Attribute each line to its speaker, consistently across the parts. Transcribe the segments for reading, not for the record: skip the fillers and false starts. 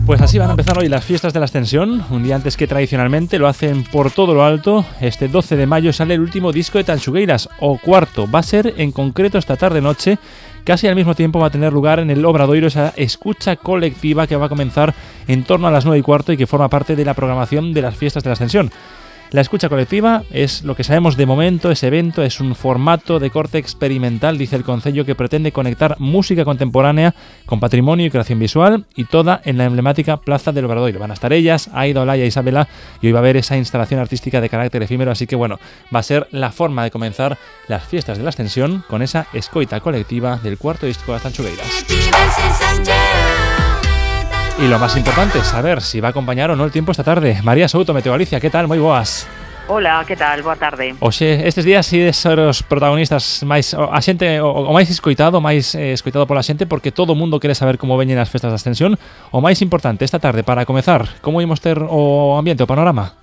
Speaker 1: Pues así van a empezar hoy las fiestas de la Ascensión, un día antes que tradicionalmente lo hacen por todo lo alto. Este 12 de mayo sale el último disco de Tanchugueiras, o cuarto. Va a ser en concreto esta tarde-noche. Casi al mismo tiempo va a tener lugar en el Obradoiro esa escucha colectiva que va a comenzar en torno a las 9:15 y que forma parte de la programación de las fiestas de la Ascensión. La escucha colectiva es lo que sabemos de momento. Ese evento es un formato de corte experimental, dice el Concello, que pretende conectar música contemporánea con patrimonio y creación visual, y toda en la emblemática Plaza del Obradoiro. Van a estar ellas, Aida, Olaya, Isabela, y hoy va a haber esa instalación artística de carácter efímero, así que bueno, va a ser la forma de comenzar las fiestas de la Ascensión con esa escoita colectiva del cuarto disco de las Tanchugueiras. Y lo más importante es saber si va a acompañar o no el tiempo esta tarde. María Souto, Meteo Galicia, ¿qué tal? Moi boas.
Speaker 2: Hola, que tal? Boa tarde.
Speaker 1: Oxe, estes días si ser os protagonistas máis a xente o máis escoitado pola xente, porque todo o mundo quere saber como veñen as festas da Ascensión. O máis importante esta tarde para comezar, como imos ter o ambiente, o panorama?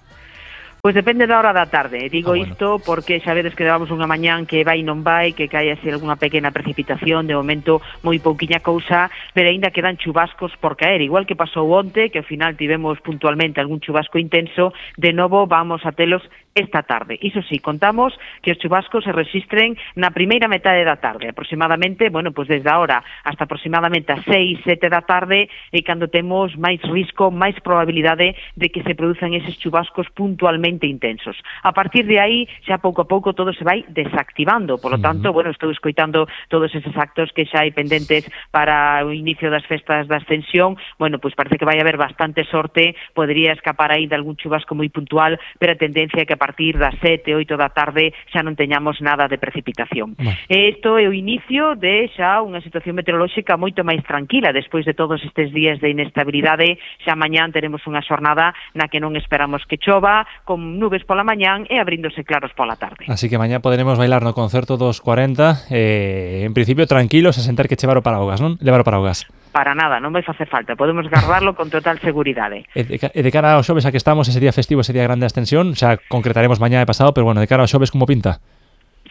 Speaker 2: Pois depende da hora da tarde. Digo
Speaker 1: bueno.
Speaker 2: isto porque xa vedes que levamos unha mañán que vai e non vai, que cae así algunha pequena precipitación, de momento moi pouquiña cousa, pero aínda quedan chubascos por caer, igual que pasou onte, que ao final tivemos puntualmente algún chubasco intenso. De novo vamos a telos esta tarde. Iso sí, contamos que os chubascos se rexistren na primeira metade da tarde, aproximadamente, bueno, pois desde ahora hasta aproximadamente as 6, 7 da tarde, e cando temos máis risco, máis probabilidade de que se produzan eses chubascos puntualmente intensos. A partir de aí, xa pouco a pouco todo se vai desactivando, polo tanto, bueno, estou escoitando todos eses actos que xa hai pendentes para o inicio das festas da Ascensión. Bueno, pois parece que vai haber bastante sorte, podería escapar aí de algún chubasco moi puntual, pero a tendencia é que a partir das 7, 8 da tarde xa non teñamos nada de precipitación. Isto é o inicio de xa unha situación meteorolóxica moito máis tranquila despois de todos estes días de inestabilidade. Xa mañán teremos unha xornada na que non esperamos que chova, con nubes pola mañán e abríndose claros pola tarde.
Speaker 1: Así que mañá poderemos bailar no concerto dos 40, en principio tranquilos, a sentar que chevar o paraugas, non? Levar o paraugas.
Speaker 2: Para nada, non vai facer falta, podemos guardarlo con total seguridade.
Speaker 1: E de cara ao xoves a que estamos, ese día festivo, ese día grande de Ascensión, xa concretaremos mañá e pasado, pero bueno, de cara ao xoves, como pinta?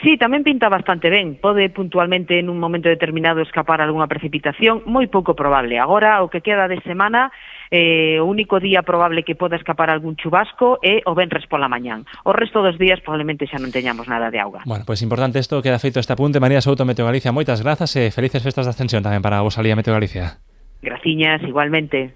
Speaker 2: Sí, tamén pinta bastante ben. Pode puntualmente en un momento determinado escapar algunha precipitación, moi pouco probable. Agora, o que queda de semana, o único día probable que poda escapar algún chubasco é o venres pola mañán. O resto dos días probablemente xa non teñamos nada de auga.
Speaker 1: Bueno, pois importante isto, queda feito este apunte. María Souto, Meteo Galicia, moitas grazas e felices festas de Ascensión tamén para vos alí a Meteo Galicia.
Speaker 2: Graciñas, igualmente.